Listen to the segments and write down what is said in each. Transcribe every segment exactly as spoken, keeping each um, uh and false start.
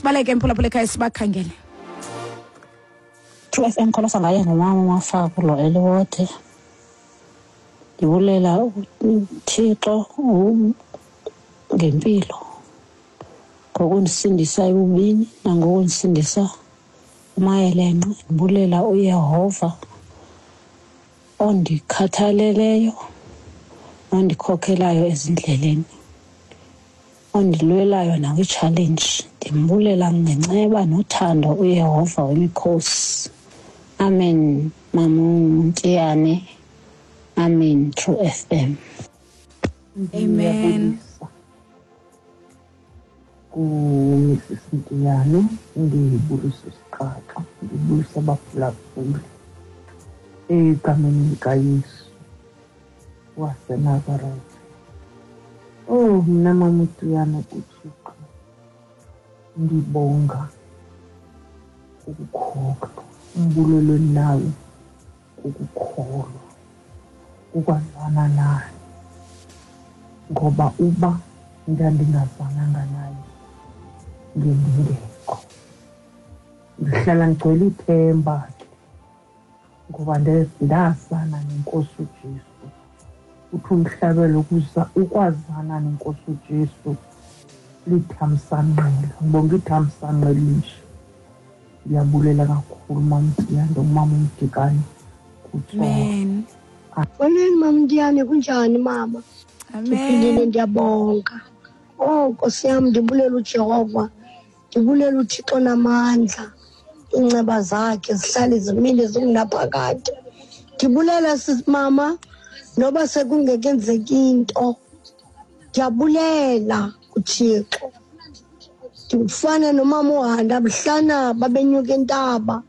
Masibaleke, mphulaphula ekhaya, sibakhangele. True F M, kholosa ngaye ngumama uMafaku lo eliwode. Ndibulela uThixo ngempilo, ngokundisindisa ebubini nangokundisindisa kumayelenqe. Ndibulela uYehova ondikhathaleleyo nondikhokhelayo ezindleleni, ondilwelayo nakwi-challenge. Ndimbulela ngenceba nothando uYehova wemikhosi. Amen, Mam'Mtiyane. Amen, True F M. Amen. KuMissus Mtiyane, ndibulisa isiqaqa, ndibulisa abaphulaphuli egameni likaYesu waseNazaretha. Oh, mna Mam'Mtiyane kuThixo ndibonga ukukholwa, umbulelo endinawo kukukholwa, ukwazana naye, ngoba uba ndandingazananga naye ngendingekho. Ndihlala ndigcwele ithemba ke, ngoba ndazana neNkosi uJesu. Uthi umhlabelo ukwazana neNkosi uJesu lithamsanqela. Ngibonga ithamsanqa elinje. Ndiyabulela kakhulu Mam'Mtiyane, umama uMdikane kuTsolo. Amen. Molweni Mam'Mtiyane, kunjani mama? Amen. Ndiphilile, ndiyabonga. Oh Nkosi yam, ndibulela uJehova, ndibulela uThixo namandla. Iinceba zakhe zihlale zimile zingunaphakade. Ndibulela sisi mama, noba sekungekenzeki into, ndiyabulela kuThixo. Ndifana nomama uHanda mhlana babenyuka intaba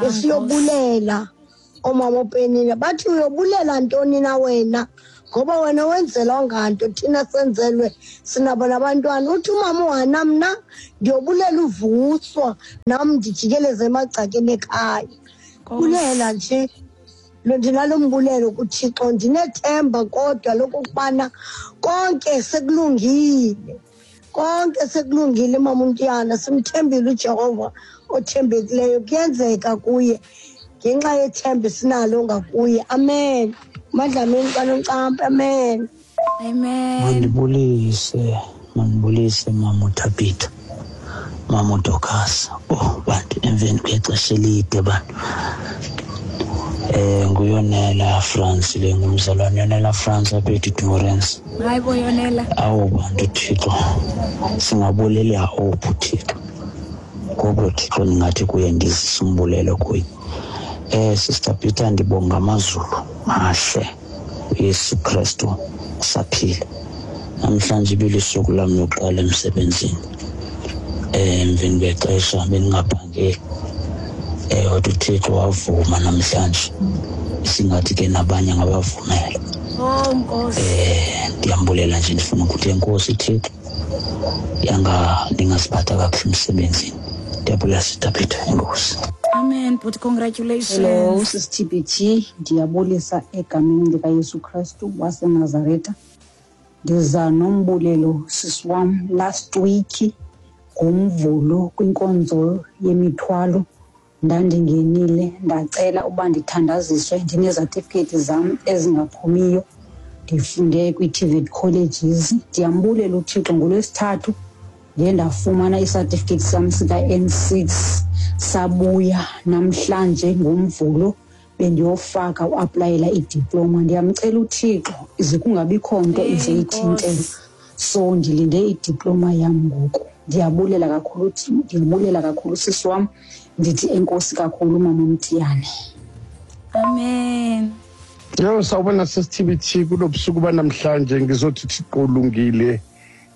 besiyobulela oomama oPenina, bathi uyobulela ntoni na wena, ngoba wena wenzelwa nganto, thina senzelwe sinabo nabantwana. Uthi umama uHana, mna ndiyobulela uvuswa nam ndijikeleze emagcakeni ekhaya. Bulela nje lo, ndinalo mbulelo kuThixo, ndinethemba kodwa lokokubana konke sekulungile, konke sekulungile Mam'Mtiyane. Simthembile uJehova othembekileyo, kuyenzeka kuye ngenxa yethemba esinalo ngakuye. Amen. Madlamini kaNoncampa, amen. Amen. Mandibulise, mandibulise Mama uThabitha, Mama uDocas. Oh bantu, emveni kwexesha elide bantu. Eh nguyonela France le, ngumzalwane Yonela France apha eDurance. Hayi bo Yonela. Awu bantu Thixo, singabulela ophi Thixo. Ngoba Thixo ningathi kuye ndizisa umbulelo kuye. Eh Sister Peter, ndibonga amazulu mahle, uYesu Kristu usaphila. Namhlanje ibilisuku lam lokuqala emsebenzini. Eh emveni kwexesha bendingaphangeli. Eh kodwa uThixo wavuma namhlanje. Singathi ke nabanye ngabavumela. Oh Nkosi. Eh ndiyambulela nje, ndifuna ukuthi enkosi Thixo. Yanga ningasiphatha kakuhle emsebenzini. Ndiyabulela Sister Peter, enkosi. Amen, but congratulations. Hello, Sis T B T. Ndiyabulisa egameni likaYesu Kristu waseNazaretha. Ndiza nombulelo sisi wam. Last week ngomvulo kwinkonzo yemithwalo ndandingenile, ndacela uba ndithandaziswe, ndinezatifikethi zam ezingaphumiyo, ndifunde kwii-T V E T colleges. Ndiyambulela uThixo, ngoLwesithathu ndiye ndafumana isatifiketi sam sika-N six, sabuya namhlanje ngomvulo bendiyofaka uaplayela idiploma. Ndiyamcela uThixo ize kungabikho nto izoyithintela, so ndilinde idiploma yam ngoku. Ndiyabulela kakhulu, ndiyabulela kakhulu sisi wam, ndithi enkosi kakhulu Mama Mtiyane. Amen. Yho, sawubona Sis T B T, kulobusuku banamhlanje ngizothi Thixo ulungile,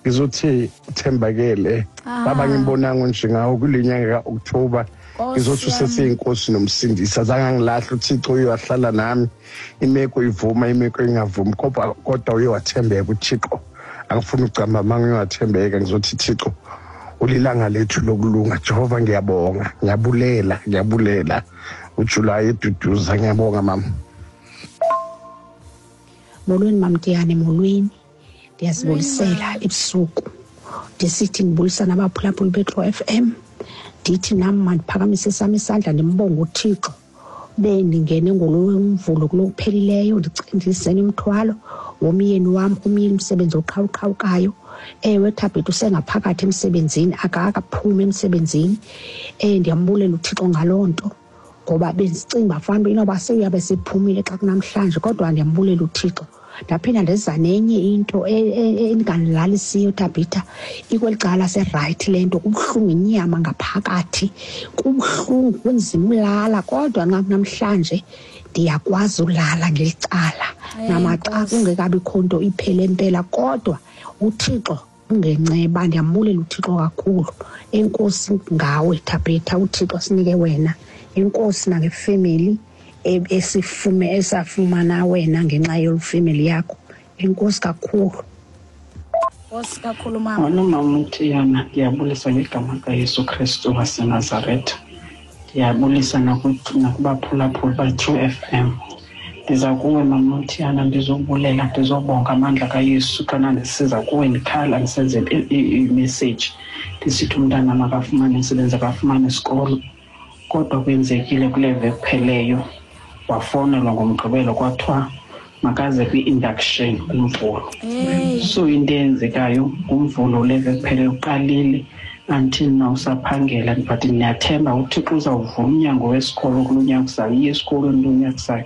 ngizothi uthembakele. Baba ngimbonanga nje ngawo kule nyanga kaOctober, ngizothi useseyinkosi nomsindisi. Azange angilahla uThixo, uye wahlala nami, imeko ivuma imeko ingavumi, kodwa kodwa uye wathembeka uThixo. Angifuni ukucamba manga, uye wathembeka. Ngizothi Thixo ulilanga lethu lokulunga. Jehova ngiyabonga, ngiyabulela, ngiyabulela. uJuly eduduza, ngiyabonga mama. Molweni Mam'Mtiyane, molweni. Ndiyazibulisela ebusuku. Ndisithi ndibulisa nabaphulaphuli beTrue F M. Ndithi nam mandiphakamise esam isandla ndimbonge uThixo. Bendingene ngolomvulo kulokuphelileyo ndisene umthwalo womyeni wam, umyeni umsebenzi oqhawuqhawukayo. Ewe Thabitha usengaphakathi emsebenzini, akakaphumi emsebenzini. Eh ndiyambulela uThixo ngaloo nto, ngoba bendicinga uba fanuba inoba sewuyabe sephumile xa kunamhlanje, kodwa ndiyambulela uThixo. Ndaphinda ndeza nenye into engandilalisiyo Thabitha, ikweli cala serayithi le nto, kubuhlungu inyama ngaphakathi, kubuhlungu kunzima ulala, kodwa namhlanje ndiyakwazi ulala ngeli cala. Namaxa kungekabikho nto iphele mpela, kodwa uThixo ungenceba. Ndiyambulela uThixo kakhulu. Enkosi ngawe Thabitha, uThixo sinike wena. Enkosi nangefemeli esifume esafumana wena ngenxa yolufemeli yakho. Enkosi kakhulu. Enkosi kakhulu mama. Molo mama Mthiyana, ndiyabulisa ngegama kaYesu Kristu waseNazaretha. Ndiyabulisa nakubaphulaphuli ba-True F M. Ndiza kuwe mama Mthiyana, ndizobulela, ndizobonga amandla kaYesu. Xana ndisiza kuwe ndikhala ndisenze imessage ndisithi umntana makafumane umsebenzi, akafumane isikolo. Kodwa kwenzekile kule veki kupheleyo, wafonelwa ngoMgqibelo kwathiwa makaze kwi-induction kuMvulo. So into eyenzekayo nguMvulo le veki kupheleyo uqalile until now usaphangela, but ndiyathemba uThixo uzawuvula umnyango wesikolo kulo nyaka uzayo, iye esikolweni kulo nyaka uzayo.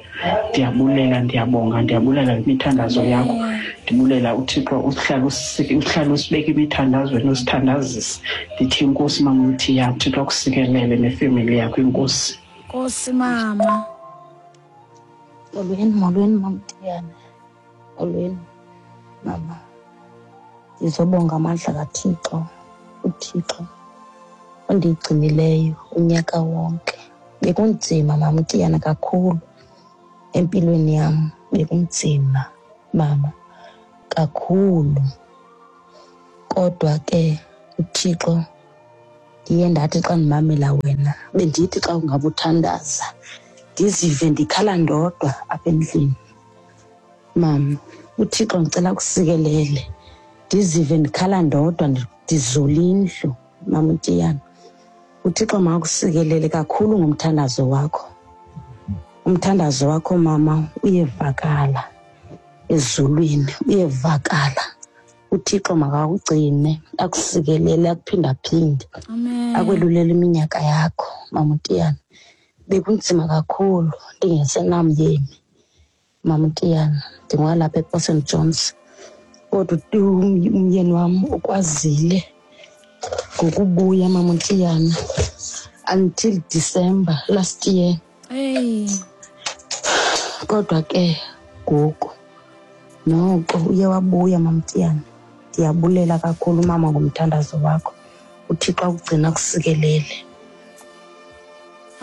Ndiyabulela, ndiyabonga, ndiyabulela ngemithandazo yakho. Ndibulela uThixo uhlala uhlala usibeka imithandazweni, usithandazise. Ndithi inkosi mama Mthiyana, uThixo akusikelele nefemeli yakho. Inkosi. Nkosi mama. Molweni, molweni mama Mthiyana. Molweni mama. Ndizobonga amandla kaThixo, uThixo ondigcinileyo unyaka wonke. Bekunzima mama Mthiyana kakhulu empilweni yam, bekunzima mama kakhulu, kodwa ke uThixo ndiye ndathi xa ndimamela wena, bendithi xa ungabe uthandaza ndizive ndikhala ndodwa apha endlini. Mama, uThixo ndicela kusikelele, ndizive ndikhala ndodwa, ndizula indlu. Mama Mthiyana, uThixo makakusikelele kakhulu ngomthandazo wakho. Umthandazo wakho mama uyevakala ezulwini, uyevakala. uThixo makakugcine, akusikelele, akuphindaphinde, akwelulele iminyaka yakho mama Mthiyana. Bekunzima kakhulu ndingesenamyeni mama Mthiyana, ndingwalapha ePort Saint Johns, kodwa umyeni wam ukwazile ngokubuya mama Mthiyana until December last year. Hey. Kodwa ke ngoku noko uye wabuya mama Mthiyana. Ndiyabulela kakhulu mama ngomthandazo wakho. uThixo akugcina akusikelele.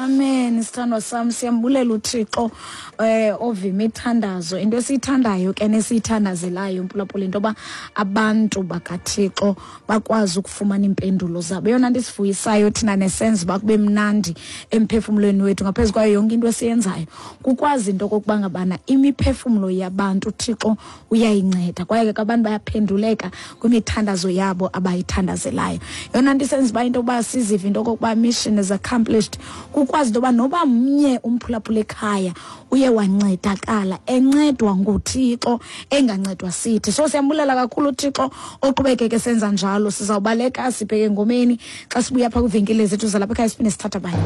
Amen, sithandwa sam, siyambulela uThixo eh ovima imithandazo. Into esiyithandayo ke nesiyithandazelayo mphulaphula, into yoba abantu bakaThixo bakwazi ukufumana iimpendulo zabo. Eyona nto isivuyisayo thina nesenza uba kube mnandi emphefumlweni wethu ngaphezu kwayo yonke into esiyenzayo, kukwazi into okokuba ngabana imiphefumlo yabantu uThixo uyayinceda, kwaye ke abantu bayaphenduleka kwimithandazo yabo abayithandazelayo. Eyona nto isenza uba into yokuba sizive into okokuba mission is accomplished, ukwazi into yoba noba mnye umphulaphula ekhaya uye wancedakala, encedwa nguThixo, engancedwa sithi. So siyambulela kakhulu uThixo oqhubekeke senza njalo. Sizawubaleka sibheke engomeni. Xa sibuya phaa kwiivenkile zethu zalapha ekhaya siphinde sithatha abanye.